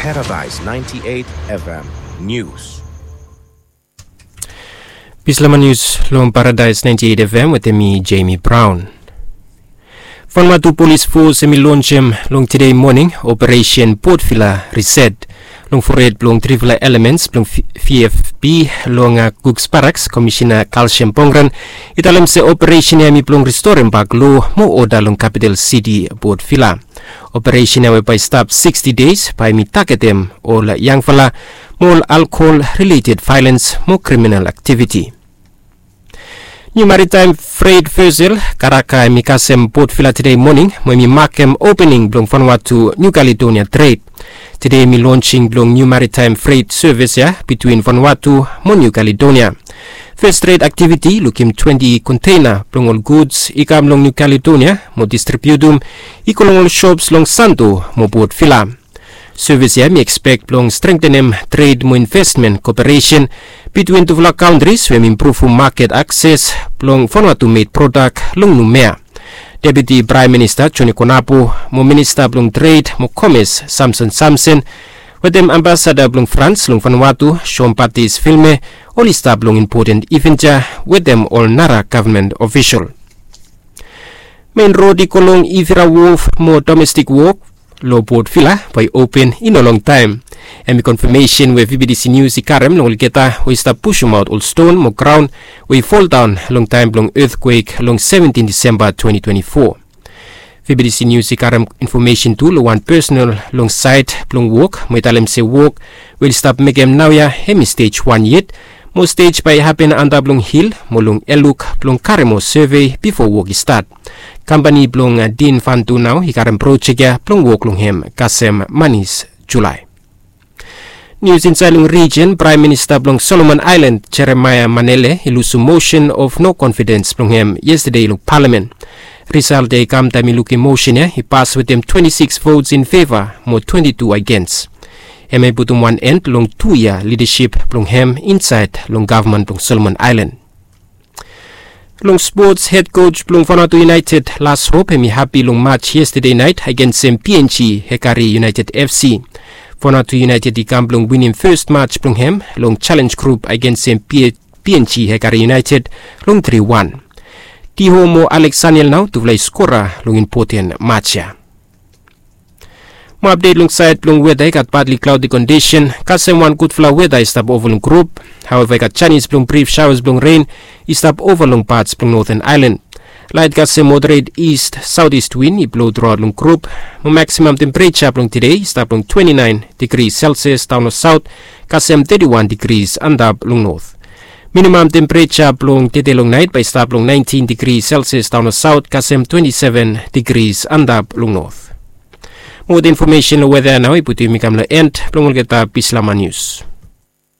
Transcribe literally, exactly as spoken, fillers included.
Paradise ninety-eight F M News. Bislama Nius long Paradise ninety-eight F M wetem mi, Jamie Brown. Vanuatu Polis Fos hem i lonsem long tede moning Operation Portvilla Reset long fored blong trifala elements blong V F P long Cooks Barracks. Komisina Kalsiam Pongran i talem se operesen ya hem i blong ristorem bak lo mo oda long kapital siti Portvilla. Operesen ya we bae i stap sixty days bae hem i tagetem ol yangfala mo ol alkohol rileted vaelens mo kriminal aktiviti. Niu maritaem fred vesel Karaka hem i kasem Portvilla tede moning mo hem i makem opening blong Vanuatu Niu Kaledonia tred. Tede hem i lonsing blong niu maritaem fred sevis ya bitwin Vanuatu mo Niu Kaledonia. Fes tred aktiviti i lukim twenti konteina blong ol guds i kam long Niu Kaledonia mo distribiutum i go long ol sops long Santo mo Portvilla. Sevis ya hem i ekspek blong strengtenem tred mo invesmen koperesen bitwin tufala kantris we hem i impruvum maket akses blong Vanuatu med prodak long Numea. Deputi Praem Minista Joni Konapo mo Minista blong Tred mo Komes Samson Samson wetem ambasada blong Frans long Vanuatu Jean Baptiste Vilme oli stap long impoten iven ya wetem ol nara gavman ofisol. Mein rod i go long Ivira Wof mo domestik wok long Portvilla bae i open i no longtaem. Hem i konfamesen we V B T C Nius i karem long olgeta we i stap pusumaot ol ston mo graon we i foldaon long taem blong etkwek long seventin Disemba twenti twenti fo. V B T C Nius i karem infomesen tu long wan pesonal long saed blong wok mo i talem se wok we oli stap mekem naoia hem i stej wan yet mo stej bae i hapen antap long hil mo long eluk blong karem ol sevei bifo wok i stat. Kampani blong Din Fantu nao i karem projek ya blong wok long hem kasem manis Julae. Nius insaed long rijen, Praem Minista blong Solomon Aelan Jeremaia Manele i lusum mosen of no konfidens blong hem yestade long palamen. Risalt ya i kam taem i lukim mosen ya i pas wetem twenti sikis vots in feva mo twenti tu agens. Hem ya i putum wan en long tu yia lidasip blong hem insaed long gavman blong Solomon Aelan. Long spots, hed koj blong Vanuatu United Las Hop hem i hapi long maj yestade naet agensem P N G Hekari United F C. Vanuatu United i kam blong winim fes maj blong hem long jalenj grup agensem P N G Hekari United long tri wan. Diho mo Alex Saniel nao tufala i skora long impoten maj ya. Mo apdet long saed blong weta, i gat patli klaodi kondisen kasem wan gudfala weta i stap ova long grup. Haoeva i gat janis blong brif saoas blong ren i stap ova long pats blong Noten Aelan. Laet kasem moderet ist saotis win i blo truaot long grup. Mo maksimam tempereja blong tede i stap long twenti naen digri selsias daon long saot kasem teti wan digris antap long not. Minimam tempereja blong tede long naet bae i stap long naentin digri selsias daon long saot kasem twenti seven digris antap long not. Mo weta infomesen long weta ya nao i putum yumi kam long en blong olgeta Bislama Nius.